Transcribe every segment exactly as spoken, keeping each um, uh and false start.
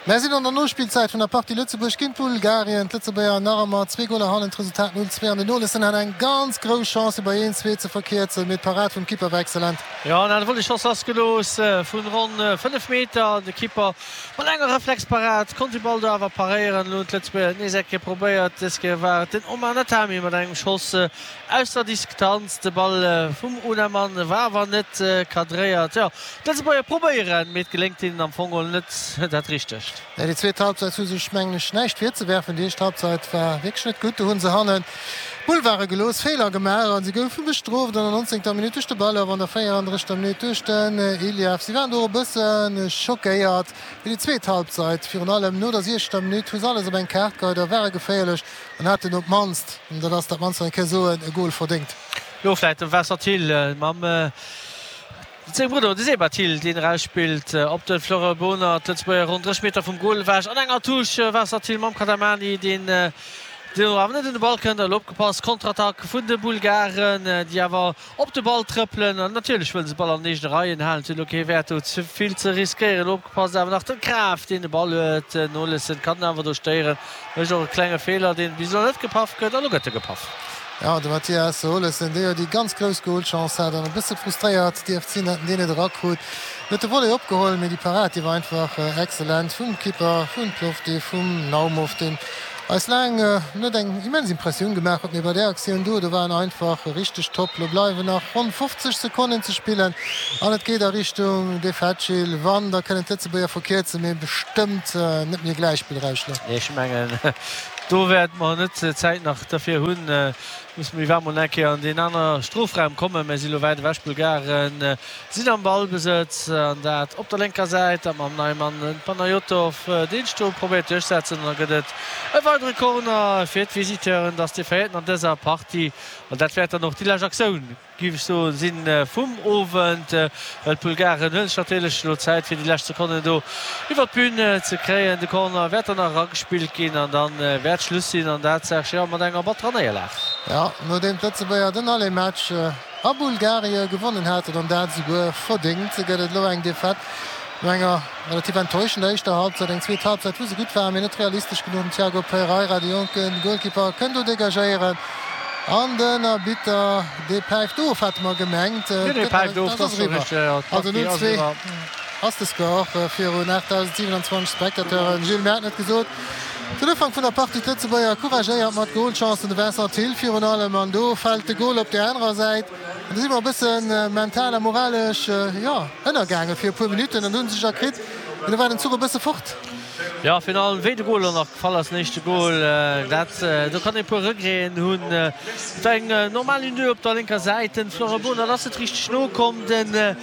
Mir sinn an der Nospillzäit vun der Partie Lëtzebuerg géint Bulgarien. D'Lëtzebuerger nach ëmmer zwee Goler hannen, d'Resultat null zwee an den Olesen hat eng ganz grouss Chance bei een zwee ze verkierzen, mee d'Parad vum Kipper war exzellent. Jo, an hat e Volleyschoss lassgelooss vun ronn fënnef Meter. De Kipper mat enger Reflexparad konnt de Ball do awer paréieren. Elo hunn d'Lëtzebuerger et nees eng Kéier probéiert. Dës Kéier war et den Omar Natami mat engem Schoss aus der Distanz. De Ball vum Unamann war awer net cadréiert. Jo, d'Lëtzebuerger probéieren, mee et geléngt hinnen am Fong geholl net dat Richtegt. Nee, déi zweet Halbzeit hu sech, mengen ech, näischt virzewerfen. Déi éischt Halbzeit war wierklech net gutt. Do hu se hannen Boulevarde gelooss, Feeler gemaach a si goufe bestrooft an der nonzéngter Minutt duerch de Balov, an der véierandrëschter Minutt duerch den Iliev. Si waren do och e bësse schockéiert fir déi zweet Halbzeit. Virun allem no der siechzeger Minutt hu se alles op eng Kaart geheit a ware geféierlech an haten op d'mannst, an dat ass dat mannst wat ee ka soen, e Gol verdéngt. Lo vläit de Vincent Thill mam sengem Brudder, de Seba Thill, deen erausspillt op de Florent Bohnert. D'Lëtzebuerger ronn dräisseg Meter vum Gol ewech an enger Touche. Vincent Thill mam Kadamani, deen do awer net un de Ball kënnt. Elo opgepasst, Konterattack vun de Bulgaren, déi awer op de Ball trëppelen. An natierlech wëlle se de Ball an den eegene Reien halen. Et huet elo kee Wäert do ze vill ze riskéieren. Elo opgepasst awer nach de Graf, deen de Ball huet. Den Olesen kann en awer do stéieren. Mécht och e klenge Feeler, deen bis elo net gepaff gëtt. A lo gëtt e gepaff. Jo, de Mathias Olesen, dee jo déi ganz grouss Golchance hat an e bësse frustréiert dierft sinn, datt en deen net erakrut, huet de Volley opgeholl, mee déi Parad, déi war einfach excellent vum Kipper vu Plovdiv, vum Naumov, deen eis laang net eng immens Impressioun gemaach huet, mee bei där Aktioun do, do war en einfach richteg top. Lo bleiwen nach ronn fofzeg Sekonnen ze spillen an et geet a Richtung Defetschil. Wann, da kënnen d'Lëtzebuerger verkierzen, mee bestëmmt net méi e Gläichspill erausschloen. Nee, ech mengen, do wäerte mer net d'Zäit nach derfir hunn. Musse mir iwwer mol eng Kéier an deen aner Strofraum kommen. Mir si lo wäit ewech. D'Bulgaren sinn am Ballbesëtz an dat op der lénker Säit, dat mam neie Mann Panayotov, deen sech do probéiert duerchsetzen. An da gëtt et e weidere Corner fir d'Visiteuren. Et ass dee véierten an dëser Partie an dat wäert dann och déi lescht Aktioun, géif ech soen, sinn vum Owend, well d'Bulgaren huele sech natierlech elo Zäit fir déi lescht Sekonnen do iwwert d'Bün ze kréien. De Corner wäert dann nach eragespillt ginn an da wäert Schluss sinn an dat, Serge, jo, mat enger batterer Néierlag. Jo, nodeem d'Lëtzebuerger den Aller-Match a Bulgarie gewonnen haten an dat esouguer verdéngt, gëtt et elo eng Defaite no enger relativ enttäuschender éischter Halbzeit. Eng zweet Halbzeit, wou se gutt waren, mee net realistesch genuch. Den Tiago Pereira, de jonke Golkipper, kënnt do degagéieren an den Arbitter, dee päift of, hate mer gemengt. Nee, dee päift of, dat ass eriwwer. Also null zwee ass de Score virun aachtdausendsiwenanzwanzeg Spectateuren. Gilles, mir haten et gesot, Den Ufank vun der Partie, d'Lëtzebuerger couragéiert mat Golchancen, de Vincent Thill virun allem, an do fält de Gol op där anerer Säit. An do si mer e bësse mental a moralesch, jo, ënnergaange fir e puer Minutten an do hu se sech erkritt, mee do war den Zuch e bësse fort. Jo, virun allem wéi de Gol och nach gefall ass, den éischte Gol, dat, do kann ee e puer Regreten hunn. Et war eng normal Une-deux op der lénker Säit, den Florent Bonert ass net richteg nokomm, den.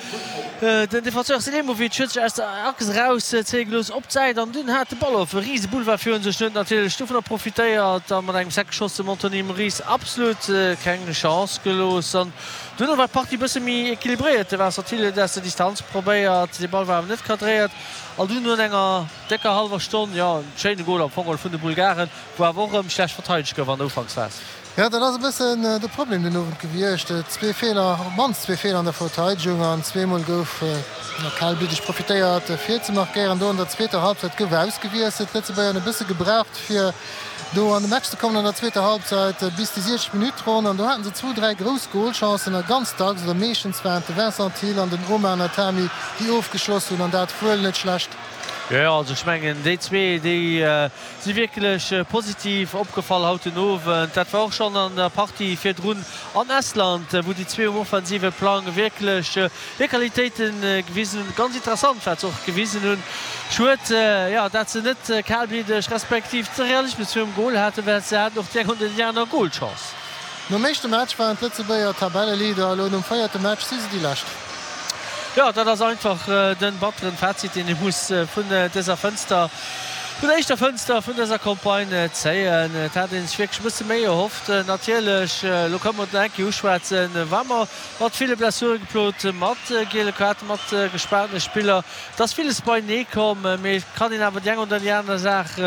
Den Defenseur Selimovic huet sech aus der Achs eraus zéie gelooss op d'Säit an dunn hat de Ball of e rise Boulevard virun sech. En huet natierlech dovunner profitéiert a mat engem Seck-Schoss dem Anthony Moris absolut keng Chance gelooss. An duerno war d'Partie e bësse méi equilibréiert. De Vincent Thill huet aus der Distanz probéiert, de Ball war awer net cadréiert. An dunn no enger décker hallwer Stonn, jo, en schéine Gol am Fong geholl vun de Bulgaren, wou awer och erëm schlecht verteidegt gouf an der Ufanksphas. Jo, dat ass e bëssen de Problem den Owend gewiescht. Zwee Feeler, op d'mannst zwee Feeler an der Verteidegung an zweemol gouf kalbliddeg profitéiert fir ze markéieren. Do an der zweeter Halbzeit gouf ausgewiesselt. D'Lëtzebuerger hunn e bësse gebraucht fir do an de Match ze kommen an der zweeter Halbzeit bis déi siechzeg Minutt ronn an do haten se zwou, dräi grouss Golchancen a ganz dacks oder meeschtens waren et de Vincent Thill an den Omar Natami déi ofgeschloss hunn an dat wuel net schlecht. Jo, jo, also ech mengen déi zwee, déi si wierklech positiv opgefall haut den Owend. Dat war och schonn an der Partie virdrun an Estland, wou déi zwee um offensive Plang wierklech hir Qualitéite gewisen hunn. Ganz interessant, wat se och gewisen hunn. Schued, jo, dat se net kalbliddeg respektiv de Realismus virum Gol haten, well se haten och déi eng oder déi aner Golchance. Nom éischte Match waren d'Lëtzebuerger Tabelleleader, elo nom véierte Match si se déi Lescht. Jo, dat ass einfach den batteren Fazit, deen ee muss vun dëser Fënster vun der éischter Fënster vun dëser Campagne zéien. Et hat ee sech wierklech e bësse méi erhofft. Natierlech, elo kënne mer et nach eng Kéier uschwätzen, war mer mat ville Blessure geplot, mat giele Kaarten, mat gespaartene Spiller. Et ass villes beienee komm, mee et kann een awer déi eng oder déi aner Saach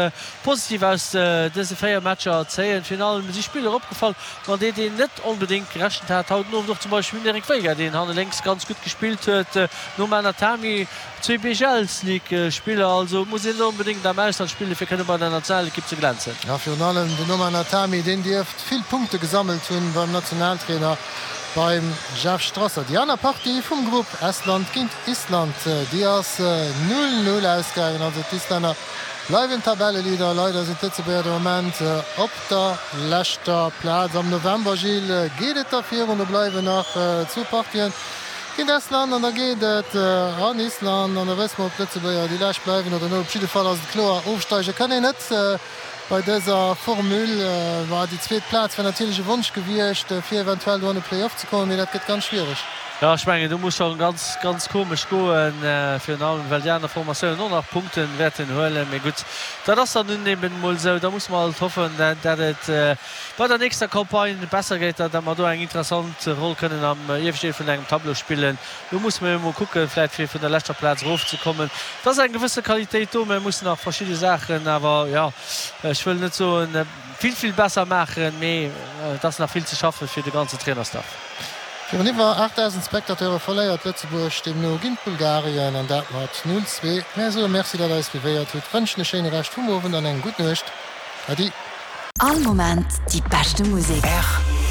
positiv aus dëse véier Matcher zéien. Virun allem si Spiller opgefall, mat deenen een net onbedéngt gerechent hat. Haut den Owend och zum Beispill den Eric Veiga, deen hanne lénks ganz gutt gespillt huet, nom Anatami. Zwee B G Ls League Spiller, also muss een net onbedéngt am Ausland spillen fir kënne bei der Nationalekipp ze glänzen. Ja, virun allem den Noman Natami, deen dierft vill Punkte gesammelt hunn beim Nationaltrainer, beim Jeff Strasser. Déi aner Partie vum Grupp, Estland géint Island, déi ass null, null ausgaangen, also d'Islänner bleiwen Tabelleleader. Leider sinn d'Lëtzebuerger de Moment op der leschter Plaz. Am November, Gilles, geet et da virun, do bleiwen nach zwou Partien géint Estland an da geet et an Island an da wësse mer, ob d'Lëtzebuerger déi lescht bleiwen oder net. Op jidde Fall ass et kloer, ofsteige kann een net bei dëser Formule. War déi zweet Plaz wär natierlech e Wonsch gewiescht, fir eventuell do an de Play-off ze kommen, mee dat gëtt ganz schwiereg. Jo, ech mengen, do muss schonn ganz, ganz komesch goen, virun allem well déi aner Formatiounen och nach Punkte wäerten huelen. Mee gutt, dat ass dann nun eben emol esou. Da musse mer alt hoffen, dat et bei der nächster Campagne besser geet, dat mer do eng interessant Roll kënnen am ieweschten Deel vun engem Tableau spillen. Do musse mer emol kucken, vläicht fir vun der leschter Plaz erofzekommen. Et ass eng gewësse Qualitéit do, mä mussen nach verschidde Saachen awer, jo, ech wëll net soen, vill, vill besser maachen, mee et ass nach vill ze schaffe fir de ganzen Trainerstaff. Virun iwwer aachtdausend Spectateure verléiert Lëtzebuerg deemno géint Bulgarien an dat mat null, zwee. Mär soe Merci, datt der eis suivéiert hutt, wënschen e schéine Rescht vum Owend an eng gutt Nuecht. Äddi. All Moment déi beschte Musek. R T L.